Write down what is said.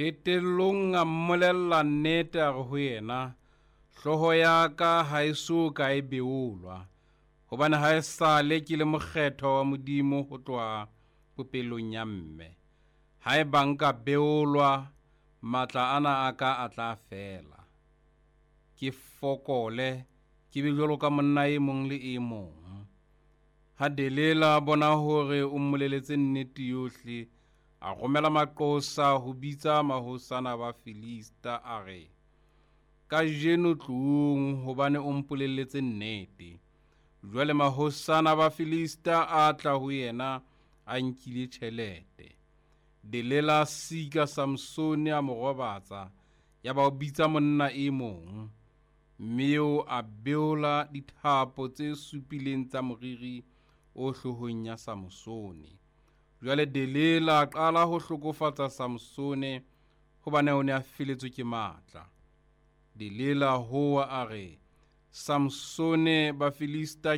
Qetellong a mmolella nnete a re ho yena, Hlooho ya ka ha e so ka e beolwa, hobane ha esale ke le mokgethwa wa Modimo ho tloha popelong ya mme. Haeba nka beolwa, matla ana a ka a tla fela. Ke fokole, ke be jwalo ka monna e mong le e mong. Ha Delila a bona hore o mmoleletse nnete yohle, a romela maqosa ho bitsa mahosana ba Filista, a re, Kajeno tloong, hobane o mpolelletse nnete. Jwale mahosana ba Filista a tla ho yena a nkile tjhelete. Delila a sika Samsone a mo robatsa, yaba o bitsa monna e mong, mme eo a beola dithapo tse supileng tsa moriri o hloohong ya Samsone. Jwale Delila a qala ho hlokofatsa Samsone hobane o ne a feletswe ke matla. Delila a howa a re, Samsone, Bafilista